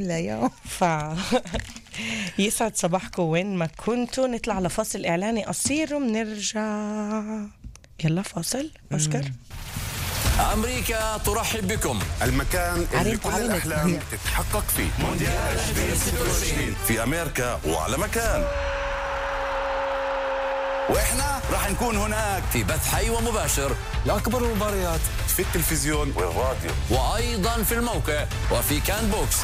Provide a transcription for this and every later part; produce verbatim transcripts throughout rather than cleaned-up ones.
ليوم. ف يسعد صباحكم وين ما كنتوا. نطلع لفاصل إعلاني قصير ومنرجع. يلا فاصل أشكر. أمريكا ترحب بكم، المكان اللي كل عرفت الأحلام تتحقق فيه. مونديال ألفين وستة وعشرين في أمريكا وعلى مكان، وإحنا راح نكون هناك في بث حي ومباشر لأكبر المباريات في التلفزيون والراديو، وأيضا في الموقع وفي كان بوكس.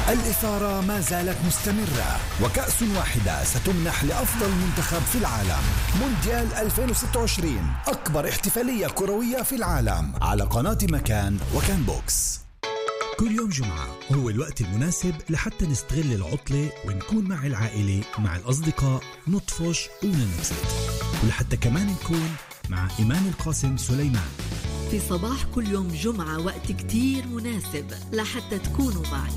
الإثارة ما زالت مستمرة، وكأس واحدة ستمنح لأفضل منتخب في العالم. مونديال ألفين وستة وعشرين، أكبر احتفالية كروية في العالم، على قناة مكان وكان بوكس. كل يوم جمعة هو الوقت المناسب لحتى نستغل العطلة ونكون مع العائلة مع الأصدقاء، نطفش وننبسط، ولحتى كمان نكون مع إيمان القاسم سليمان في صباح كل يوم جمعة. وقت كتير مناسب لحتى تكونوا معي.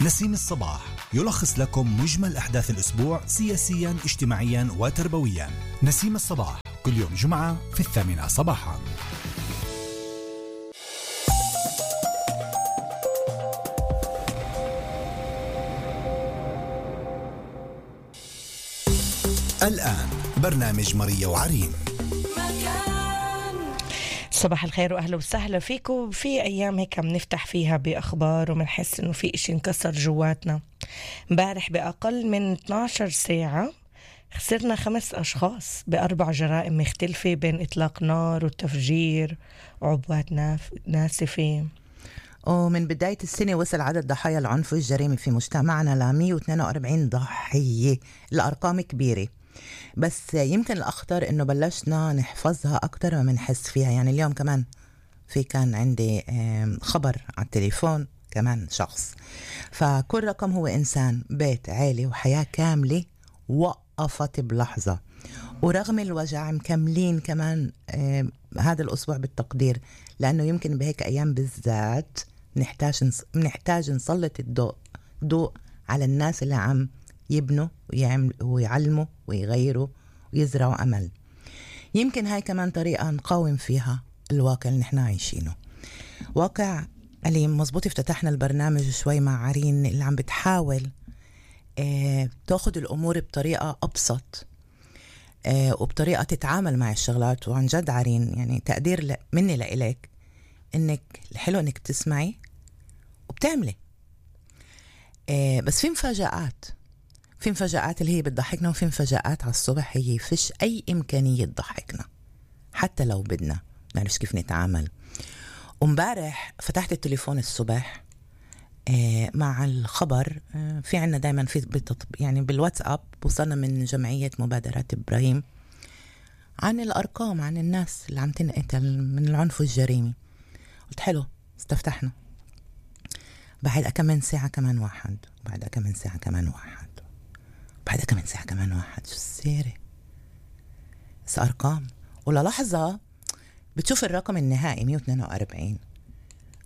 نسيم الصباح يلخص لكم مجمل أحداث الأسبوع سياسيا، اجتماعيا وتربويا. نسيم الصباح كل يوم جمعة في الثامنة صباحا. الآن برنامج ماريا وعرين. صباح الخير وأهلا وسهلا فيكم. في أيام هيك بنفتح فيها بأخبار ومنحس إنه في إشي انكسر جواتنا. امبارح بأقل من اثنتي عشرة ساعة خسرنا خمس أشخاص بأربع جرائم مختلفة، بين إطلاق نار وتفجير وعبوات ناف... ناسفة. ومن بداية السنة وصل عدد ضحايا العنف والجريمة في مجتمعنا ل مية واثنين وأربعين ضحية. الأرقام كبيرة، بس يمكن الأخطر إنه بلشنا نحفظها أكتر ما منحس فيها. يعني اليوم كمان في كان عندي خبر على التليفون كمان شخص، فكل رقم هو إنسان، بيت، عائلة وحياة كاملة وقفت بلحظة. ورغم الوجع مكملين كمان هذا الأسبوع بالتقدير، لأنه يمكن بهيك أيام بالذات نحتاج نحتاج نسلط الضوء ضوء على الناس اللي عم يبنوا ويعلموا ويغيروا ويزرعوا أمل. يمكن هاي كمان طريقة نقاوم فيها الواقع اللي نحن عايشينه، واقع أليم. مزبوط، افتتحنا البرنامج شوي مع عرين اللي عم بتحاول اه تأخذ الأمور بطريقة أبسط اه وبطريقة تتعامل مع الشغلات. وعن جد عرين يعني تقدير مني لإلك، إنك الحلو إنك تسمعي وبتعملي. اه بس في مفاجآت في مفاجآت اللي هي بتضحكنا، وفي مفاجآت على الصبح هي فيش أي إمكانية تضحكنا حتى لو بدنا نعرف كيف نتعامل. ومبارح فتحت التليفون الصبح آه مع الخبر. آه في عنا دايما في بتطب يعني بالواتساب وصلنا من جمعية مبادرات إبراهيم عن الأرقام، عن الناس اللي عم تنقتل من العنف والجريمة. قلت حلو، استفتحنا. بعد كمان ساعة كمان واحد، بعد كمان ساعة كمان واحد، بعد كمان ساعة كمان واحد. شو السيرة؟ بس أرقام، وللحظة بتشوف الرقم النهائي مية واثنين وأربعين،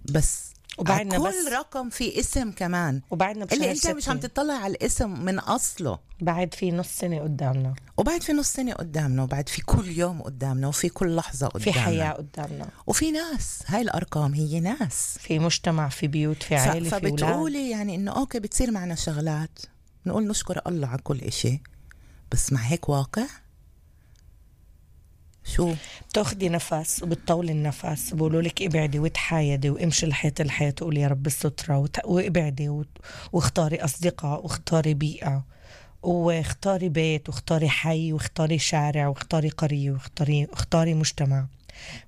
بس وبعدنا كل بس رقم في اسم كمان، وبعدنا اللي انت مش عم تطلع على الاسم من أصله. بعد في نص سنة قدامنا، وبعد في نص سنة قدامنا، وبعد في كل يوم قدامنا، وفي كل لحظة قدامنا، في حياة قدامنا، وفي ناس. هاي الأرقام هي ناس، في مجتمع، في بيوت، في عائلة، في أولاد. فبتقولي يعني إنه أوكي بتصير معنا شغلات نقول نشكر الله على كل إشي، بس مع هيك واقع شو؟ بتاخدي نفس وبتطولي النفس، بقولوا لك ابعدي وتحايدي وامشي لحياة الحياة، وقولي يا رب السترة وت... وابعدي و... واختاري أصدقاء، واختاري بيئة، واختاري بيت، واختاري حي، واختاري شارع، واختاري قرية، واختاري اختاري مجتمع.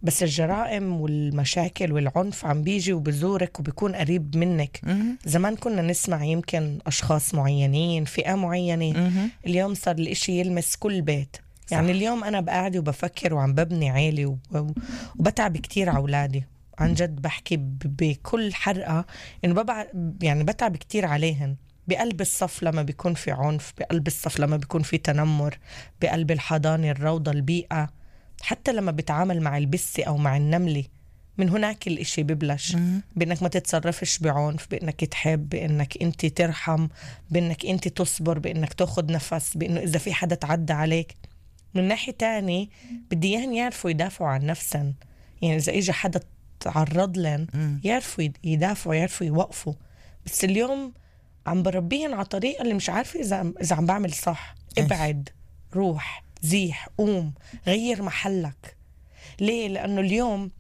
بس الجرائم والمشاكل والعنف عم بيجي وبزورك وبيكون قريب منك. م- زمان كنا نسمع يمكن أشخاص معينين، فئة معينة. م- اليوم صار الإشي يلمس كل بيت. يعني اليوم أنا بقعد وبفكر وعم ببني عيلي وب... وبتعب كتير على أولادي. عن جد بحكي ب... بكل حرقة إنه ببع... يعني بتعب كتير عليهن. بقلب الصف لما بيكون في عنف، بقلب الصف لما بيكون في تنمر، بقلب الحضانة، الروضة، البيئة، حتى لما بتعامل مع البسة أو مع النملة. من هناك الاشي ببلش بأنك ما تتصرفش بعنف، بأنك تحب، بأنك انت ترحم، بأنك انت تصبر، بأنك تاخد نفس، بأنه إذا في حدا تعدى عليك. من ناحية تاني بدي إياهم يعرفوا يدافعوا عن نفسهم. يعني إذا إجا حدا تتعرض لن يعرفوا يدافعوا يعرفوا يوقفوا. بس اليوم عم بربيهن على طريقة اللي مش عارفة إذا إذا عم بعمل صح. ابعد، روح، زيح، قوم، غير محلك. ليه؟ لأنه اليوم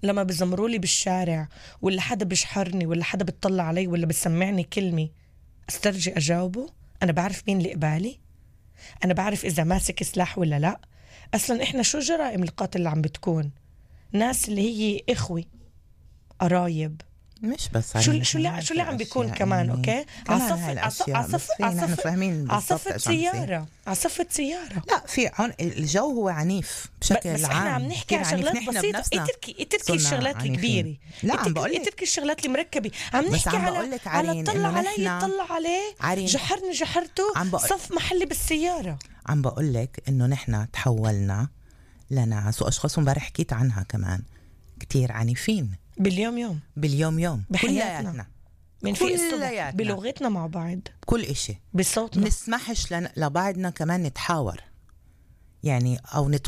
لما بزمرولي بالشارع ولا حدا بيشحرني ولا حدا بتطلع علي ولا بسمعني كلمة، استرجي أجاوبه. أنا بعرف مين اللي قبالي، أنا بعرف إذا ماسك سلاح ولا لا. أصلا إحنا شو جرائم القتل اللي عم بتكون؟ ناس اللي هي إخوة قرايب، مش بس شو شو اللي شو اللي عم بيكون كمان. اوكي عصف عصف عصف عصفة سيارة عصفة سيارة. لا في عن الجو هو عنيف بشكل بس عام. احنا عم نحكي عن شغلات بسيطة. اتركي اتركي الشغلات الكبيرة. لا عم بقول لك اتركي الشغلات المركبة. عم نحكي على على طلع علي طلع عليه جحرني جحرته صف محلي بالسيارة. عم بقول لك انه نحن تحولنا لناس واشخاص امبارح حكيت عنها كمان كتير عنيفين باليوم يوم باليوم يوم بحياتنا من في الصبح بلغتنا مع بعض كل إشي بصوتنا. نسمحش لبعضنا كمان نتحاور يعني أو نتواصل